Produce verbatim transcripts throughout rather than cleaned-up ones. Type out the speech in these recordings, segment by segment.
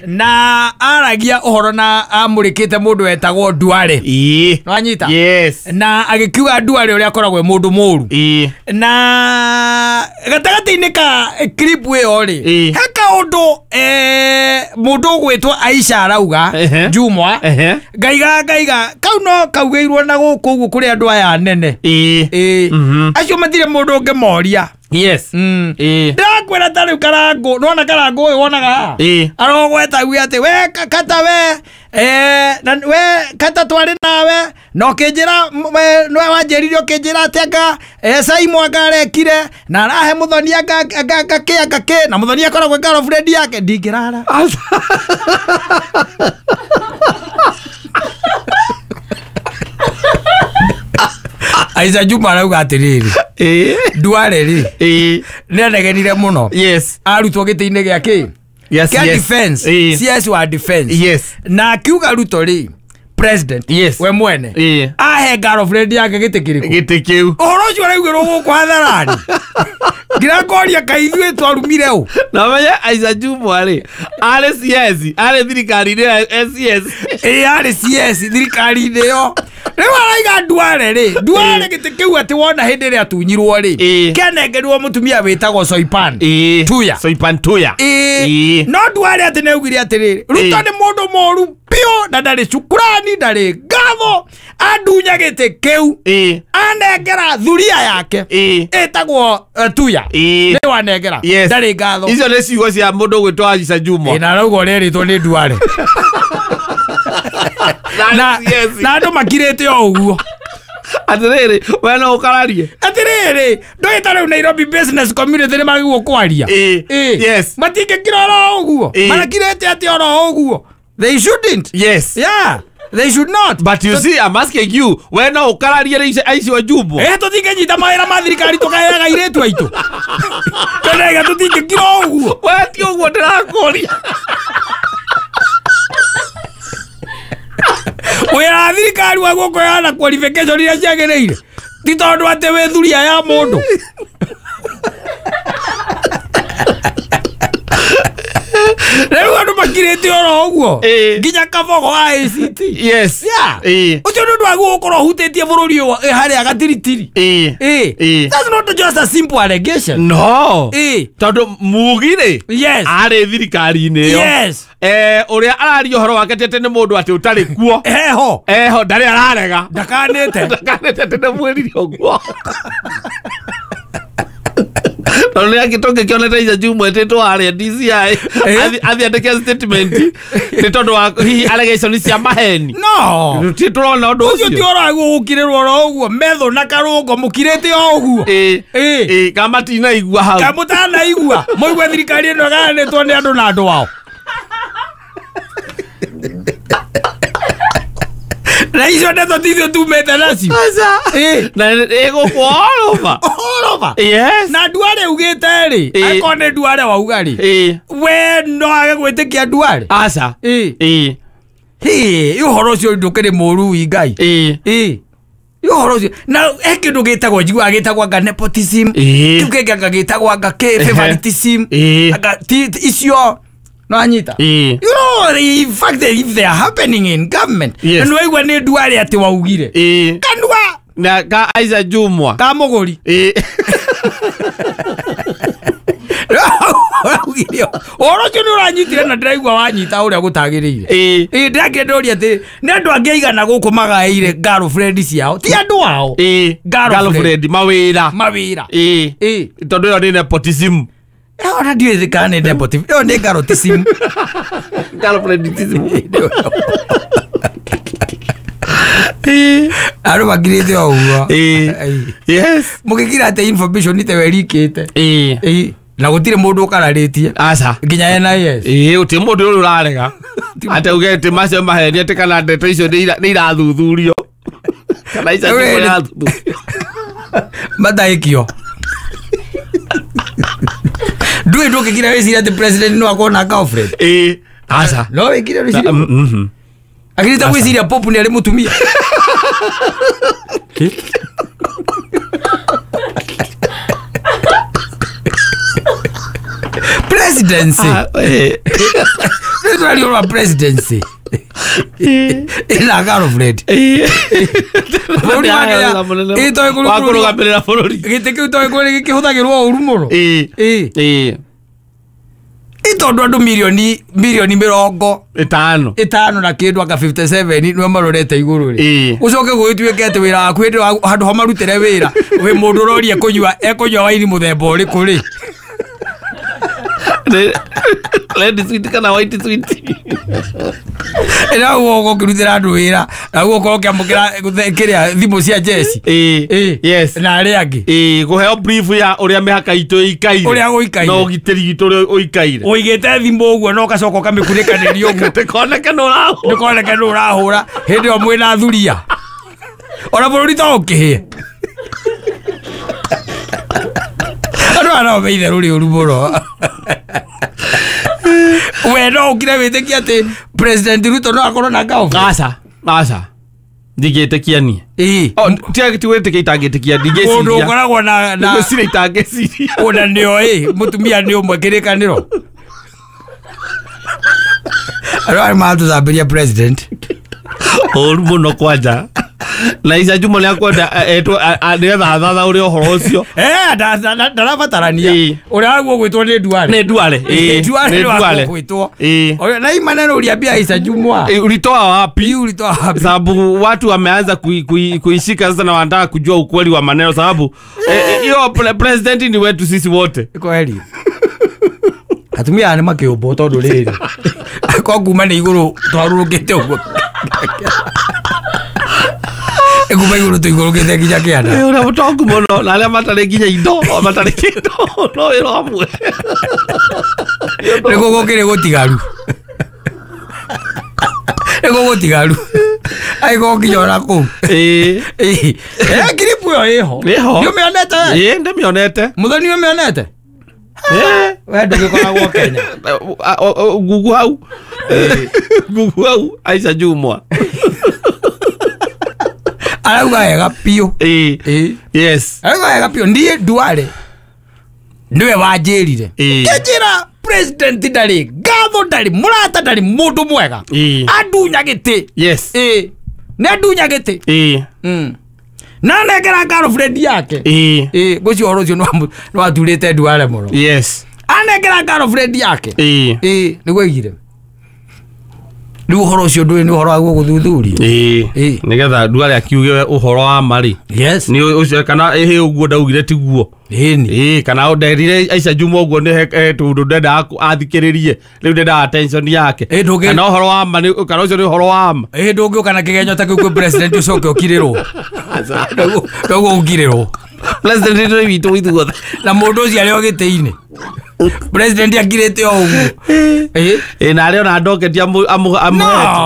Na aragia ũhoro na amũrĩkĩte mũndũ wetagwo Duale. Ĩĩ. Nwanyita? Yes. Na agĩkiuga Duale ũrĩa akoragwo e mũndũ mũru. Ĩĩ. Na gatagatĩ-inĩ ka clip ĩyo rĩ, Ĩĩ. he kaũndũ eh, mũndũ ũgwĩtwo Aisha arauga Ehe. Jumwa Ehe. ngaiga ngaiga kau no kaugĩirwo na gũkũ ũguo kũrĩ andũ aya anene. Ĩĩ. Ĩĩ. Mhm. Acio matirĩ mũndũ ũngĩmoria. Yes. Mm. Ĩĩ. Ndĩrakwĩra ta rĩu Karangũ, nĩwona Karangũ ũyũ wonaga haha? Ĩĩ. Arogweta auge atĩ we ka- kata we eh, na we kata twarĩ nawe na ũkĩnjĩra m- we- nĩwe wanjĩrire ũkĩnjĩra atĩ anga eh, Saimo anga arekire na arahe Mũthoni anga anga anga kĩ anga kĩ na Mũthoni akoragwo e girlfriend yake ndingĩrara. Aisha Juma arauga atĩrĩrĩ, Ĩĩ. Duale rĩ Ĩĩ. nĩanegenire mũno Yes. arutwo gĩtĩ-inĩ gĩa kĩ Yes, kĩa yes. defense Ĩĩ. C S wa defense. Yes. Na akiuga Ruto rĩ president Yes. we mwene Ĩĩ. ahe girlfriend yake gĩtĩ kĩrĩkũ Gĩtĩ kĩu. ũhoro ũcio ũraugĩrwo gũkũ hadharani nginya ngoria kaĩ ithuĩ twarumire ũ Na menye Aisha Jumwa rĩ arĩ C S arĩ thirikari-inĩ ya S S. Ĩĩ arĩ C S thirikari-inĩ ĩyo rĩu araiga Duale rĩ Duale gĩtĩ kĩu atĩ wona hĩndĩ ĩrĩa atunyirwo rĩ Ĩĩ. kĩanengerirwo mũtumia wĩtagwo Soipan Ĩĩ. Tuya. Soipan Tuya. Ĩĩ. Ĩĩ. No Duale atĩ nĩaugire atĩrĩrĩ Ruto Ĩĩ. nĩ mũndũ mũru biũ na ndarĩ cukurani ndarĩ ngatho andunya gĩtĩ kĩu Ĩĩ. anengera thuria yake Ĩĩ. ĩtagwo eh, Tuya Ĩĩ. nĩ wanengera Yes. ndarĩ ngatho Icio nĩ ciugo cia mũndũ ũgwĩtwo Aisha Jumwa. Ĩĩ, na arauga ũrĩa erĩtwo nĩ Duale na Na C S. na andũ makirĩte o ũguo Atĩrĩrĩ we no ũkararie. Atĩrĩrĩ ndũĩ ta rĩu Nairobi business community nĩ magĩrĩirwo kwaria. Ĩĩ. Ĩĩ. Yes. Matingĩkira oro ũguo Ĩĩ. marakirĩte atĩ oro ũguo they shouldn't. Yes. Yeah, they should not. But you see, I'm asking you, we no ũkararie rĩ Aisha Jumwa. Eh, tũtingĩnyita mawĩra ma thirikari tũkaheaga airĩtu aitũ tũrega tũtingĩkira o ũguo We ti ũguo ndĩrakũria. Wĩra wa thirikari wa gũkũheana qualification iria ciagĩrĩire ti tondũ atĩ wĩ thuria ya mũndũ. Rĩu andũ makirĩte oro ũguo Ĩĩ. nginya Kabogo wa A C T. Yes. Yeah. Ĩĩ. Ũcio nĩ ũndũ wagĩrĩirwo gũkorwo ũhutĩtie bũrũri ũyũ eh, harĩa gatiritiri. Ĩĩ. Ĩĩ. Ĩĩ. That's not just a simple allegation. No. Ĩĩ. Tondũ Mugi rĩ Yes. arĩ thirikari-inĩ ĩyo. Yes. Eh, ũrĩa araria ũhoro wake ti atĩ nĩ mũndũ atĩ ũtarĩ kuo. Eho. Eho ndarĩ ararega. Ndakanĩte. Ndakanĩte atĩ nĩ mwĩrire ũguo. Tondũ nĩ angĩ tũngĩkĩonete Aisha Jumwa etĩtwo harĩa D C I Eh? athiĩ andĩke statement nĩ tondũ wa hihi allegation cia maheni. No. Ti tũrona ũndũ Ũcio ti ũcio. ũhoro wagĩrĩirwo gũkirĩrwo oro ũguo metho na karũngo mũkirĩte o ũguo. Ĩĩ. Ĩĩ. Ĩĩ, kana matinaigua hau. Ka mũtanaigua mũigue thirikari ĩno ĩgayanĩtwo nĩ andũ na andũ ao. Na icio ndeto ti ithuĩ tumĩte nacio. Aca. Ĩĩ. Na ĩgũkũ all over. All over. Yes. Na Duale ugĩte rĩ Ĩĩ. akorwo nĩ Duale wauga rĩ Ĩĩ. we no age gwĩtĩkia Duale. Aca. Ĩĩ. Ĩĩ. Hĩ, ũhoro ũcio ndũkĩrĩ mũru ĩ Ngai. Ĩĩ. Ĩĩ. Ũhoro ũcio na he kĩndũ gĩtagwo njiguaga gĩtagwo anga nepotism. Ĩĩ. Kĩu kĩngĩ anga gĩtagwo anga kĩ Ehe. favoritism. Ĩĩ. Anga ti ti- icio no anyita. Ĩĩ. You know, in fact, if they are happening in government, Yes. na nĩwaigua nĩ Duale atĩ waugire. Ĩĩ. Kanua Na ka Aisha Jumwa. ka mũgũri. Ĩĩ. Waugire ũhoro ũcio nĩ ũranyitire na ndĩraigua wanyita ũrĩa gũtagĩrĩire. Ĩĩ. Ĩĩ ndĩrakĩenda ndĩroria atĩ nĩ andũ angĩ aigana gũkũ magaĩire girlfriend ciao ti andũ ao Ĩĩ. Girlfriend. Girlfriend mawĩra. mawĩra. Ĩĩ. Ĩĩ. Tondũ ĩyo nĩ nepotism. Ona ndiũĩ kana nĩ nepotism ĩyo nĩ garotism. Girlfriendism. Ĩĩ. Andũ makirĩte o ũguo. Ĩĩ. Ĩĩ. Yes. Mũgĩkira atĩ information te werikĩte. Ĩĩ. Ĩĩ. Na gũtirĩ mũndũ ũkararĩtie Aca. nginya N I S. Ĩĩ gũtirĩ mũndũ ũrĩa ũrarega. Atĩ uge atĩ macio maheni atĩ kana ndeto icio nĩ ira- nĩ irathuthurio. Kana icio Rĩu nĩ rĩ- irathuthurio. Mataĩkio. Ndũĩ ndũngĩkira wĩcirie atĩ president no akorwo na girlfriend. Ĩĩ. Aca. No wĩkire wĩcirie. Mm, mhm. Akĩrĩte gwĩciria Pope nĩ arĩ mũtumia. Presidency. Eh. Nĩ twaria presidency. Ĩna girlfriend. Eh. Bũrũri wa Kenya, ĩ toĩ kũrĩ Wa bũrũri- kũrũgamĩrĩra bũrũri. Gĩtĩ kĩu toĩ kũrĩ gĩkĩhũthagĩrwo ũru mũno. Ĩ. Ĩ. Ĩ. Ĩ tondũ andũ mirioni mirioni mĩrongo Ĩtano. ĩtano na kĩndũ anga fifty-seven nĩo marorete igũrũ rĩ. Ĩ. Ũcoke gũgĩtuĩke atĩ wĩra waku hĩndĩ ĩyo handũ ha marutĩre wĩra wĩ mũndũ ũroria kũnyua ekũnyua waini mũthemba ũrĩkũ rĩ. Nĩ- Red sweet kana white sweet. Ĩna ũguo ũkĩrutĩra andũ wĩra na ũguo ũkorwo ũkĩamũkĩra kĩrĩa thimũ cia jeci. Ĩ. Ĩ. Yes. Na arĩa angĩ. Ĩ, kũheo brief ya ũrĩa mĩhaka itũ ĩikaire. Ũrĩa gũikaire. Na ũgitĩri witũ ũrĩa ũikaire. Ũigĩte thimũ ũguo na ũgacoka ũkamĩkunĩkanĩria ũguo. Ndĩkoneke nĩ ũrahũra. Ndũkoneke nĩ ũrahũra hĩndĩ ĩyo mwĩna thuria. Ona bũrũri to ũkĩhĩe. Andũ aya no me itherũ rĩũru mũno. We no ũkire wĩtĩkie atĩ President Ruto no akorwo na girlfriend? Aca. Aca. Ndingĩtĩkia niĩ. Ĩ. Oh, ti ti gwĩtĩkia itangĩtĩkia Mũndũ ndingĩciria. ũkoragwo na na Ngwĩciria itangĩciria. ona nĩo ĩ mũtumia nĩ ũmwe kĩrĩkanĩro. Andũ aya maratũcambĩria president. Ũru mũno kwanja. Na Isa Juma nĩakwenda etwo nĩgetha athathaũre ũhoro ũcio. Eh, ndarabatarania. Ĩ. Ũrĩa waguo gwĩtwo nĩ Duale. Nĩ Duale. Ĩ. Duale Nĩ nĩ waguo Duale. gwĩtwo. Ĩ. Ũrĩa- Na hii maneno uliambia Isa Jumwa. Ĩ, ulitoa wapi? Hii ulitoa wapi? Sababu watu wameanza kui, kui, kuishika sasa na wanataka kujua ukweli wa maneno sababu hiyo eh, pre president ni wetu sisi wote. Kweli. Atumia aya nĩ makĩũmbwo tondũ rĩrĩ. Kwa kuma nĩ igũrũ twarũrũkĩte ũguo. Kuma igũrũ tũikũrũkĩte nginya kĩanda. Eh, ũrĩa mũtongu mũno na arĩa matarĩ nginya indo matarĩ kĩndũ no wĩra ũmwe. Nĩkuo gũkĩrĩ gũtigaru. Nĩkuo gũtigaru. Angĩkorwo nginya ona kũu. Ĩ. Ĩ. Eh, clip ĩyo ĩho. Ĩho. Nĩũmĩonete we? Ĩ, ndĩmĩonete. Mũthoni nĩũmĩonete? Ĩ. We ndũgĩkoragwo Kenya. Gugu hau. Gugu hau Aisha Jumwa. Arauga wega biũ. Ĩ. Ĩ. Yes. Arauga wega biũ. Niĩ Duale nĩwe wanjĩrire. Ĩ. Kĩnjĩra president ndarĩ ngatho ndarĩ mũrata ndarĩ mũndũ mwega. Ĩ. Andunya gĩtĩ. Yes. Ĩ. Nĩ andunya gĩtĩ. Ĩ. Mm. Na anengera girlfriend yake. Ĩ. Ĩ, ngwĩciria ũhoro ũcio nĩ waturĩte Duale mũno. Yes. Anengera girlfriend yake. Ĩ. Ĩ, nĩguo aigire. Rĩu ũhoro ũcio ndũrĩ nĩ ũhoro wa gũthuthuria. Ĩ. Ĩ. Nĩgetha Duale akiuge ũhoro wa ma rĩ. Yes. Nĩ ũcio kana ĩhĩ ũguo ndaugire tiguo. Ĩni. Ĩ, kana nderire Aisha Juma ũguo nĩ he tondũ ndendaga athikĩrĩrie rĩu ndendaga attention yake. Ĩ, ndũngĩ- Kana ũhoro wa ma nĩ kana ũcio nĩ ũhoro wa ma. Ĩ ndũngĩũka na kĩgenyo ta kĩu kwĩ president ũcoke ũkirĩrwo. Ndoguo ũkirĩrwo. President nĩ witũ ithuothe. Na mũndũ ũcio arĩ o gĩtĩ-inĩ. President akirĩte o ũguo. Ĩ. Ĩ, na arĩ ona ndoketi amũ amũ No,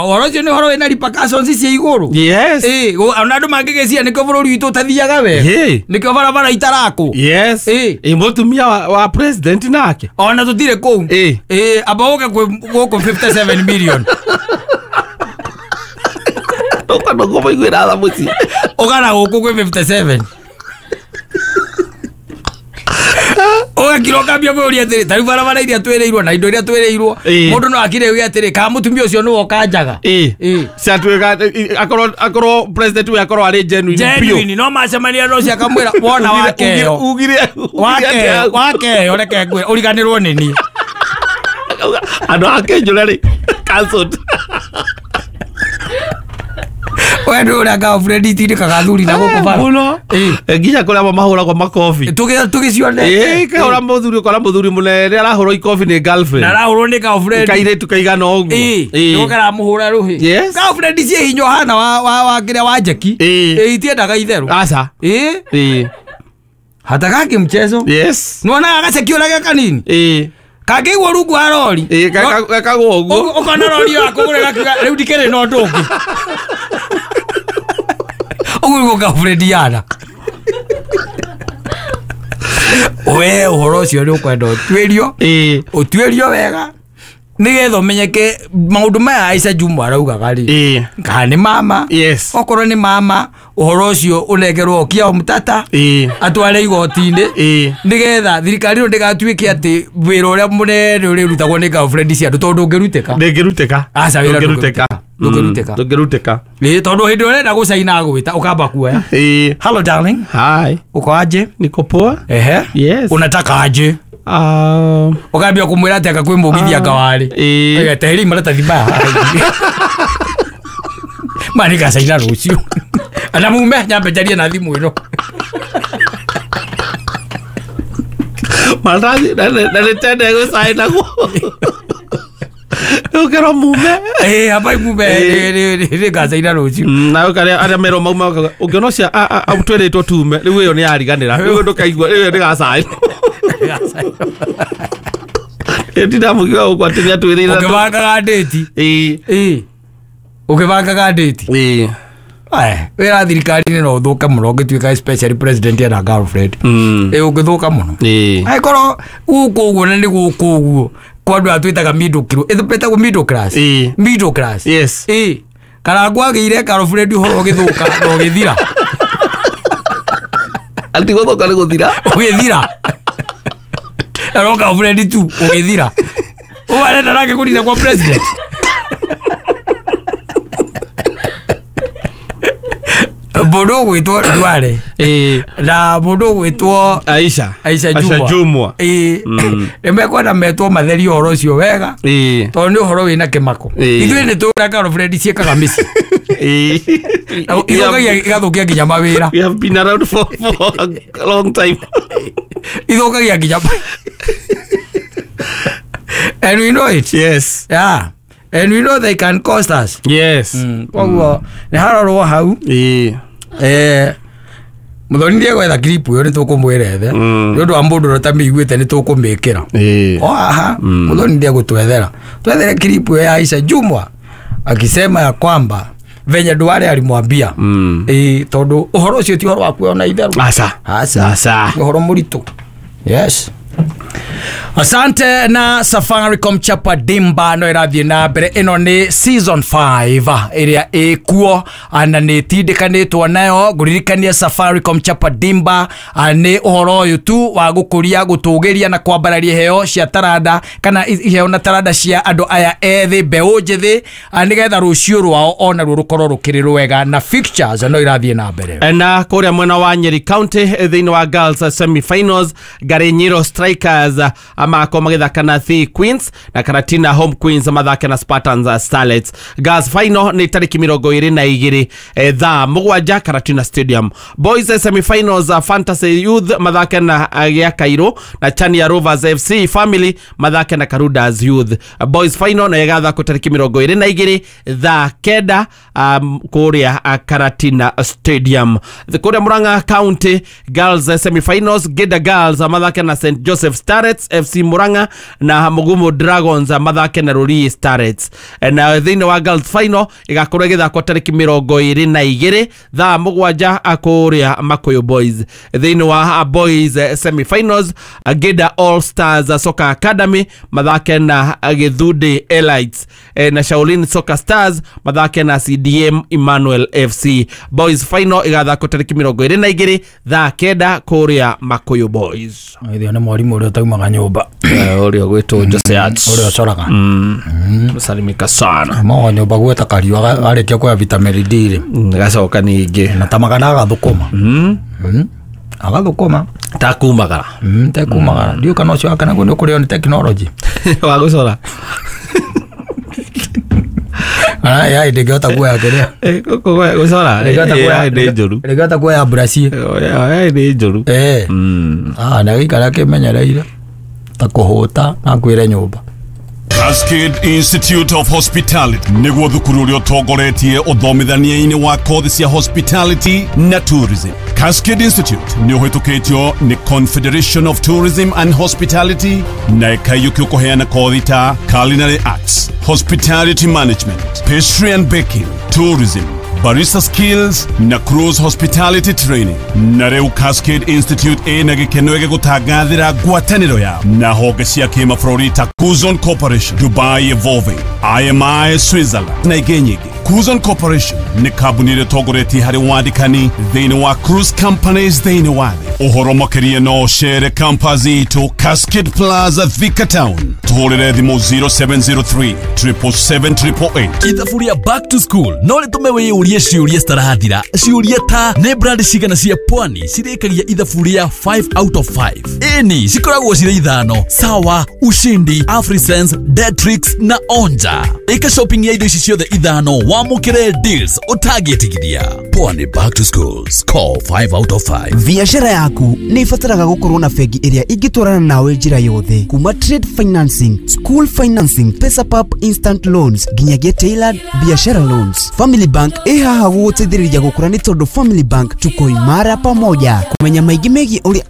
ũhoro ũcio nĩ ũhoro wĩna repercussions cia igũrũ. Yes. Ĩ, gũ- ona andũ mangĩgĩciria nĩkĩo bũrũri witũ ũtathiaga wega. Ĩ. Nĩkĩo barabara itarakwo. Yes. Ĩ. Ĩ, mũtumia wa, wa president nake. Ona tũtirĩ kũu. Ĩ. Ĩ, amba ũke kwĩ gũkũ fifty-seven million. Ndũka ndũkũmũiguĩra tha mũciĩ. Ũgana gũkũ kwĩ fifty-seven. Ũgakira ũkambia kwĩyũria atĩrĩ, ta rĩu barabara iria twĩrĩirwo na indo iria twĩrĩirwo, Ĩ. mũndũ no akire oige atĩrĩ, kana mũtumia ũcio nĩwe ũkanjaga. Ĩ. Ĩ. Ciatuĩka akorwo akorwo president we akorwo arĩ genuine biũ. Genuine, no macemania na ũcio akamwĩra wona wakeo. Ugire Wakeo, wakeo, reke ngwĩre, ũriganĩrwo nĩ niĩ. Andũ a Kĩnjũra rĩ cancelled. We ndũĩ ũrĩa girlfriend itindĩkaga athuri na gũkũ bara. Mũno. Ĩ. Nginya kũrĩa amwe mahũragwo makobi. Tũgĩ- tũgĩcionete. Ĩ, kahũra mũthuri ũkora mũthuri mũnene arahũrwo ikobi nĩ girlfriend. Na arahũrwo nĩ girlfriend. Kairĩtu kaigana ũguo. Ĩ, Ĩ. nĩko karamũhũra rũhĩ. Yes. Girlfriend ciĩ hinya ũhana wa wa wa kĩrĩa wa Jackie. Ĩ. Ĩ, itiendaga itherũ. Aca. Ĩ. Ĩ. Hatakaki mchezo. Yes. Nĩwonaga gaceki ũrĩa ge kanini? Ĩ. Kangĩigua rungu wa rori. Ĩ, gakagwo ũguo. Ũkona rori ĩyo akũgũrĩra akiuga, rĩu ndikĩrĩ na ũndũ ũngĩ. Ũguo nĩguo girlfriend yana. We ũhoro ũcio nĩ ũkwenda ũtuĩrio. Ĩ. Ũtuĩrio wega. Nĩgetha ũmenyeke maũndũ maya Aisha Jumwa araugaga rĩ Ĩĩ. Kana nĩ mama. Yes. Okorwo nĩ mama ũhoro ũcio ũnengerwo Okiya Omtatah Ĩĩ. atware igoti-inĩ Ĩĩ. nĩgetha thirikari ĩno ndĩgatuĩke atĩ wĩra ũrĩa mũnene ũrĩrutagwo nĩ girlfriend cia andũ tondũ ndũngĩrutĩka. Ndĩngĩrutĩka. Aca, wĩra ndũngĩrutĩka. ndũngĩrutĩka. Ndũngĩrutĩka. Ĩĩ, tondũ hĩndĩ ĩrĩa ũrenda gũcaina agwĩta ũkamba kuoya. Ĩĩ. Hello darling. Hi. Uko aje? Niko poa. Ehe. Yes. Unataka aje? Um, Ũkambia kũmwĩra atĩ anga kwĩ mũgithi anga warĩ. Ĩĩ. Teheri maratathi maya. Maya nĩngacaina rũciũ. Ana mume nyambe njarie na thimũ ĩno. Maratathi na nĩ tene gũcaina guo. Ũkerwo mume. Ĩĩ, hamba mume nĩngacaina rũciũ. Na ũkarĩa arĩa merwo mauma ũngĩona ũcio twĩrĩtwo tume rĩu ĩyo nĩ yariganĩra rĩu ndũkaigua rĩu ĩyo ndĩgacaina. Ndinamũkiuga gũkũ atĩ nĩatwĩrĩire. Ũkĩbangaga ndĩti. Ĩĩ. Ĩĩ. Ũkĩbangaga ndĩti. Ĩĩ. Aya, wĩra thirikari-inĩ no ũthũke mũno ũngĩtuĩka especially president ena girlfriend. Mm. Ĩĩ, ũngĩthũka mũno. Ĩĩ. Angĩkorwo gũkũ ũguo na nĩ gũkũ ũguo kwa andũ aya twĩtaga middle class. Ĩtagwo middle class. Ĩĩ. Middle class. Yes. Ĩĩ. Karangũ agĩire girlfriend ũhoro ũgĩthũka na ũgĩthira. Ati gũthũka nĩ gũthira. Ũgĩthira. Na girlfriend tu ũgĩthira. Ũũ arenda nake kũnina kwa president. Mũndũ ũgwĩtwo Duale. Ĩĩ. Na mũndũ ũgwĩtwo Aisha. Aisha Jumwa. Aisha Jumwa. Ĩĩ. Nĩ mekwenda metwo matherie ũhoro ũcio wega. Ĩĩ. Tondũ nĩ ũhoro wĩna kĩmako. Ĩĩ. Ithuĩ nĩ tũĩ ũrĩa girlfriend ciĩkaga mĩciĩ. Ĩĩ. Ithũkagia igathũkia nginya mawĩra. We have been around for, for a long time. Ithũkagia nginya. And we know it. Yes. Yeah. And we know they can cost us. Yes. Koguo nĩ harorwo hau. Ĩĩ. Eh, Muthoni ndiegwetha clip ĩyo nĩ tũkũmwĩra ethe. Nĩ ũndũ wa mũndũ ũrĩa ũtamĩiguĩte nĩ tũkũmĩkĩra. Ĩĩ. O haha Muthoni ndiegũtwethera. Twethere clip ĩyo ya Aisha Jumwa akisema ya kwamba venye Duale alimwambia. Mm. Ĩĩ, tondũ ũhoro ũcio ti ũhoro wa kuona itherũ. Aca. Aca. Aca. Nĩ ũhoro mũritũ. Yes. Asante na Safaricom Chapa Dimba no ĩrathiĩ na mbere. Ĩno nĩ season five ĩrĩa ĩkuo na nĩ ĩtindĩkanĩtwo nayo. Ngũririkania Safaricom Chapa Dimba nĩ ũhoro ũyũ tu wa gũkũria, gũtũgĩria na kwambararia iheo cia taranda kana iheo na taranda cia andũ aya ethĩ, mbeũ njĩthĩ, nĩgetha rũciũ rwao onaruo rũkorwo rũkĩrĩ rwega, na fixtures no irathiĩ na mbere. Na kũrĩa mwena wa Nyeri County thĩinĩ wa girls semi-finals, Ngarinyiro Strikers amako magĩthaka na The Queens na Karatina Home Queens mathake na Spartans Starlets. Girls final nĩ tarĩki mĩrongo ĩrĩ na igĩrĩ thaa mũgwanja Karatina Stadium. Boys semi-finals Fantasy Youth mathake na Gĩa Kairũ na Chania Rovers F C Family mathake na Karudas Youth. Boys final na ĩgathakwo tarĩki mĩrongo ĩrĩ na igĩrĩ thaa kenda um, kũrĩa Karatina Stadium. Kũrĩa Murang'a County girls semi-finals Geda Girls mathake na Saint Joseph Starlets F C Murang'a na Mugumo Dragons mathake na Ruri Starlets. Na thĩinĩ wa girls final ĩgakorwo ĩgĩthakwo tarĩki mĩrongo ĩrĩ na igĩrĩ thaa mũgwanja kũrĩa Makuyu Boys. Thĩinĩ wa boys semi-finals Geda All Stars Soccer Academy mathake na Githundi Elites na Shaolin Soccer Stars mathake na C D M Emmanuel F C. Boys final ĩgathakwo tarĩki mĩrongo ĩrĩ na igĩrĩ thaa kenda kũrĩa Makuyu Boys. Ithio nĩ mwarimũ ũrĩa ũtaumaga nyũmba. Ũrĩa ũgwĩtwo Jose Arts. Ũrĩa ũcoraga. Salimika sana. Mawa nyũmba gweta kariũa arĩkia kuoya vitamin D rĩ. Gacoka ningĩ. Na tamaga agathũkũma. Agathũkũma. Takumagara. Tekumagara. Ndiũĩ kana ũcio wake naguo nĩ ũkũrĩo nĩ tekinoronjĩ. Wa gũcora. Ah, ya ndingĩhota kuoya kĩrĩa. Gũcora. Ndingĩhota nĩ njũru. Ndingĩhota kuoya brush. Nĩ njũru. Eh. Ah, na gĩikara kĩmenyereire ta kũhũta na kwĩre nyũmba. Cascade Institute of Hospitality nĩguo thukuru ũrĩa ũtongoretie ũthomithania-inĩ wa kothi cia hospitality na tourism. Cascade Institute nĩ ũhĩtũkĩtio nĩ Confederation of Tourism and Hospitality na ĩkaiyũkio kũheana kothi ta culinary arts, hospitality management, pastry and baking, tourism, barista skills na cruise hospitality training. Na rĩu Cascade Institute ĩna gĩkeno gĩgũtangathĩra ngwatanĩro yao na honge cia kĩmabũrũri ta Cuzon Corporation, Dubai Evolving, I M I Switzerland na ingĩ nyingĩ. Cuzon Corporation nĩ kambuni ĩrĩa ĩtongoretie harĩ wandĩkani thĩinĩ wa cruise companies thĩinĩ wa thĩ. Ũhoro makĩria no ũcere campus itũ, Cascade Plaza, Thika Town. Tũhũrĩre thimũ zero seven zero three seven seven seven eight eight eight. Ithabu rĩa back to school no rĩtũme wĩyũrie ciũria citarathira, ciũria ta: nĩ brand cigana cia pwani cirĩkagia ithabu rĩa five out of five? Ĩni, cikoragwo cirĩ ithano: Sawa, Ushindi, Afrisense, Detrix na Onja. Ĩka shopping ya indo ici ciothe ithano wamũkĩre deals ũtangĩtigithia. Pwani back to school, score five out of five. Biacara yaku nĩ ĩbataraga gũkorwo na bengi ĩrĩa ĩngĩtwarana nawe njĩra yothe, kuma trade financing, school financing, Pesapap instant loans nginyagia tailored biashara loans. Family Bank ĩ haha gũgũteithĩrĩria gũkũra, nĩ tondũ Family Bank, tuko imara pamoja. Kũmenya maingĩ megiĩ ũrĩa